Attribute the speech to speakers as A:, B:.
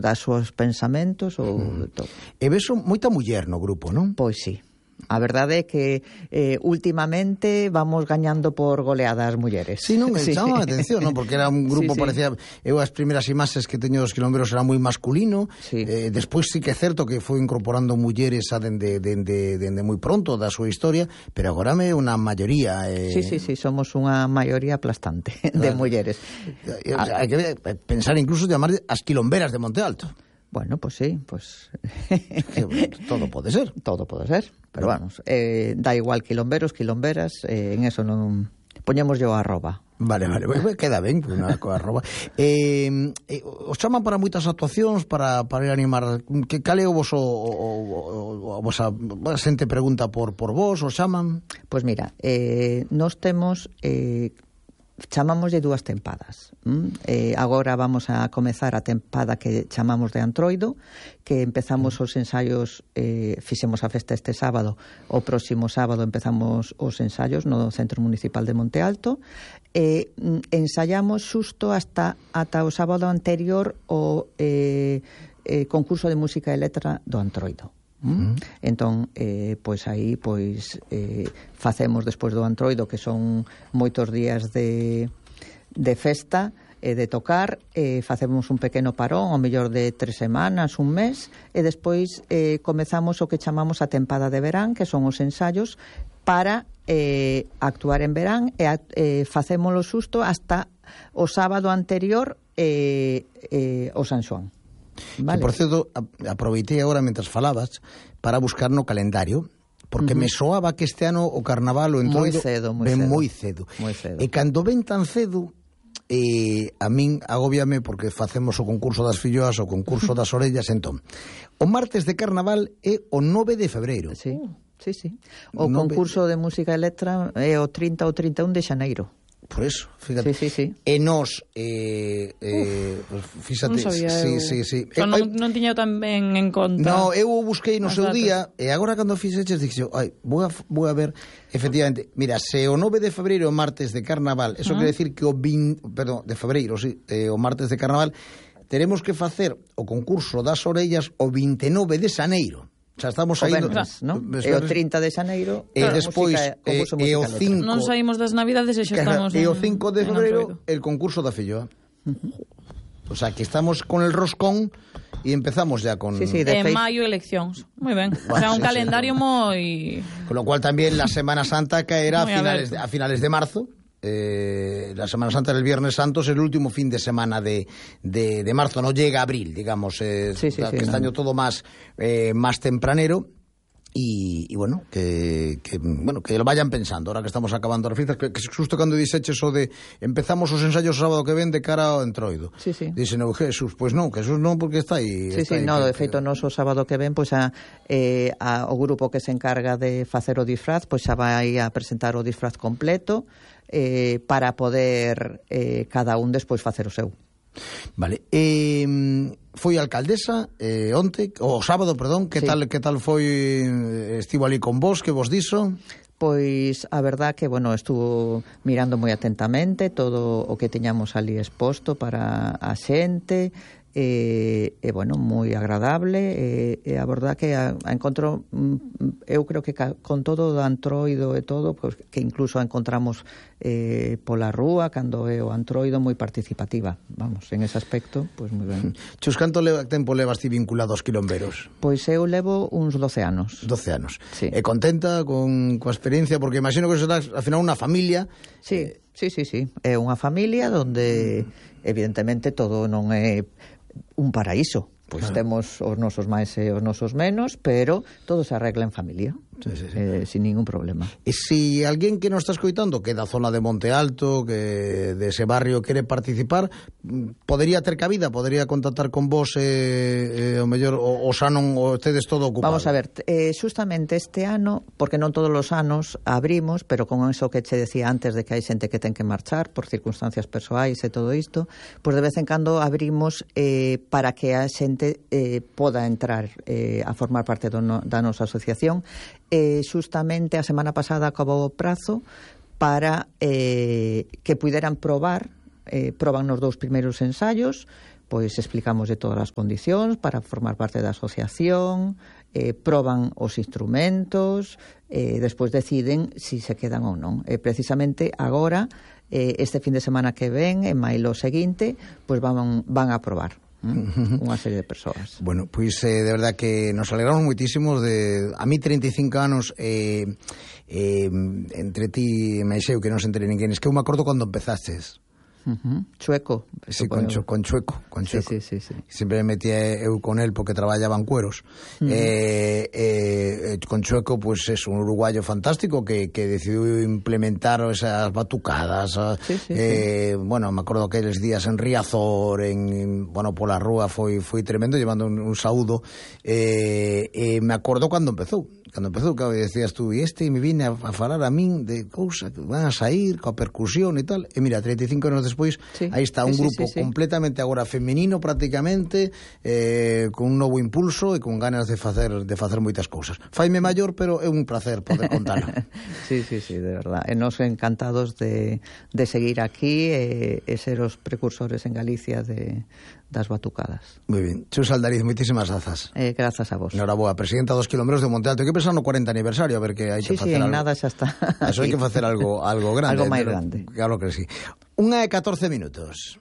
A: das súas pensamentos ou de todo.
B: E ves moita muller no grupo, non?
A: Pois sí. A verdade é que últimamente vamos gañando por goleada as mulleres.
B: Sí, non, chama a atención, non? Porque era un grupo, parecía... Eu as primeiras imaxes que teño dos quilomberos era moi masculino. Despois sí que é certo que foi incorporando mulleres dende moi pronto da súa historia, pero agora é unha maioría.
A: Sí, somos unha maioría aplastante de mulleres.
B: Hai que pensar incluso llamar as quilomberas de Monte Alto.
A: Bueno, pues sí, pues...
B: todo pode ser.
A: Todo pode ser, pero vamos, da igual quilomberos, quilomberas, en eso non... Poñemos yo arroba.
B: Vale, queda ben, unha coa arroba. Os chaman para moitas actuacións, para ir a animar. Cal é o vos a xente pregunta por vos, os chaman?
A: Pois mira, nós temos... chamámoslle 2 tempadas. Agora vamos a comezar a tempada que chamamos de Antroido, que empezamos os ensaios, fixemos a festa este sábado, o próximo sábado empezamos os ensaios no Centro Municipal de Monte Alto, ensaiamos xusto ata o sábado anterior o concurso de música e letra do Antroido. Entón, pois aí facemos despois do Antroido, que son moitos días de festa e de tocar, facemos un pequeno parón, ao mellor de 3 semanas, un mes, e despois comezamos o que chamamos a tempada de verán, que son os ensaios para actuar en verán, e facémolo xusto hasta o sábado anterior o San Xoán.
B: Vale. Que, por certo, aproveitei agora mentras falabas para buscar no calendario, porque me soaba que este ano o carnaval o Entroido ven moi cedo. E cando ven tan cedo, a min agóbiame porque facemos o concurso das filloas, o concurso das orellas. Entón, o martes de carnaval é o 9 de febreiro.
A: Sí. O concurso de música e letra é o 30 ou 31 de xaneiro.
B: Por eso, fíjate.
A: Sí.
B: E nos fíxate,
C: non sabía
B: sí.
C: Non tiña tan ben en conta.
B: No, eu o busquei no seu día, e agora cando fixeches dixo, vou a ver, efectivamente, mira, se o 9 de febreiro o martes de carnaval, eso quere decir que o 20, perdón, de febreiro, sí, o martes de carnaval, teremos que facer o concurso das orellas o 29 de xaneiro. Xa estamos saindo,
A: ¿no? E o 30 de xaneiro,
B: e despois e o 5,
C: non saímos das Navidades e xa estamos
B: e o 5 de febreiro el concurso da filloa. O sea, que estamos con el roscón e empezamos ya con...
C: En maio eleccións. Moi ben. O sea, un calendario moi...
B: Con lo cual también la Semana Santa caerá a finales de marzo. La Semana Santa del Viernes Santo es el último fin de semana de marzo, no llega a abril, digamos, este año todo más tempranero. Y bueno, que lo vayan pensando ahora que estamos acabando as fiestas, que xusto cando dixeches o de empezamos os ensaios o sábado que ven de cara ao Entroido. Dixen, Jesús, pois non, Jesús non, porque está aí.
A: De feito, nos o sábado que ven, pois o grupo que se encarga de facer o disfraz, pois xa vai a presentar o disfraz completo, para poder cada un despois facer o seu.
B: Vale. Foi alcaldesa onte, o sábado, perdón, que tal foi, estivo ali con vos, que vos dixo?
A: Pois a verdad que, estuvo mirando moi atentamente todo o que teñamos ali exposto para a xente, moi agradable, e a verdad que a encontro, eu creo que con todo o Antroido e todo, pois, que incluso a encontramos pola rúa, cando é o Antroido, moi participativa, vamos, en ese aspecto, pois moi ben.
B: Chus, canto tempo levas ti vinculado aos quilomberos?
A: Pois eu levo uns 12 anos.
B: 12 anos.
A: Sí.
B: E contenta coa experiencia, porque imagino que será, al final, unha familia.
A: Sí. É unha familia onde, evidentemente, todo non é un paraíso, pois temos os nosos máis e os nosos menos, pero todo se arregla en familia, sin ningún problema.
B: E se alguén que nos está escoitando, que é da zona de Monte Alto, que de ese barrio quere participar, podería ter cabida, podería contactar con vos, o mellor o xa non o tedes todo ocupado.
A: Vamos a ver, xustamente este ano, porque non todos os anos abrimos, pero con eso que che decía antes de que hai xente que ten que marchar por circunstancias persoais e todo isto, pois de vez en cando abrimos para que a xente poda entrar a formar parte da nosa asociación. Xustamente a semana pasada acabou o prazo para que puderan proban nos 2 primeiros ensaios, pois explicamos de todas as condicións para formar parte da asociación, proban os instrumentos, despois deciden si se quedan ou non. Precisamente agora, este fin de semana que ven, en maio seguinte, pois van a probar unha serie de persoas.
B: Bueno, pois de verdad que nos alegramos moitísimos de... A mí 35 anos entre ti e Meixeu, que non se entere ninguén, es que eu me acordo cando empezastes.
A: Chueco.
B: Sí, con Chueco.
A: Sí.
B: Sempre me metía eu con él porque traballaba en cueros. Con Chueco, pues es un uruguayo fantástico que decidiu implementar esas batucadas. Bueno, me acordo aqueles días en Riazor, bueno, pola rúa foi tremendo, llevando un saúdo. Me acordo cando empezou, claro, decías tú, e me vine a falar a min de cousas que van a sair coa percusión e tal, e mira, 35 anos despois, aí está un grupo completamente agora femenino prácticamente, con un novo impulso e con ganas de facer moitas cousas. Faime maior, pero é un placer poder contar.
A: Sí, de verdad. E nos encantados de seguir aquí e ser os precursores en Galicia das batucadas.
B: Moi ben. Chus Aldariz, moitísimas grazas.
A: Grazas a vos.
B: Noraboa, presidenta dos Quilombreros de Monte Alto. Hai que pensar no 40 aniversario, a ver que hai que facer algo.
A: Sí, nada xa está.
B: Eso hai que facer algo grande.
A: Algo máis grande.
B: Claro que sí. 1:14 minutos.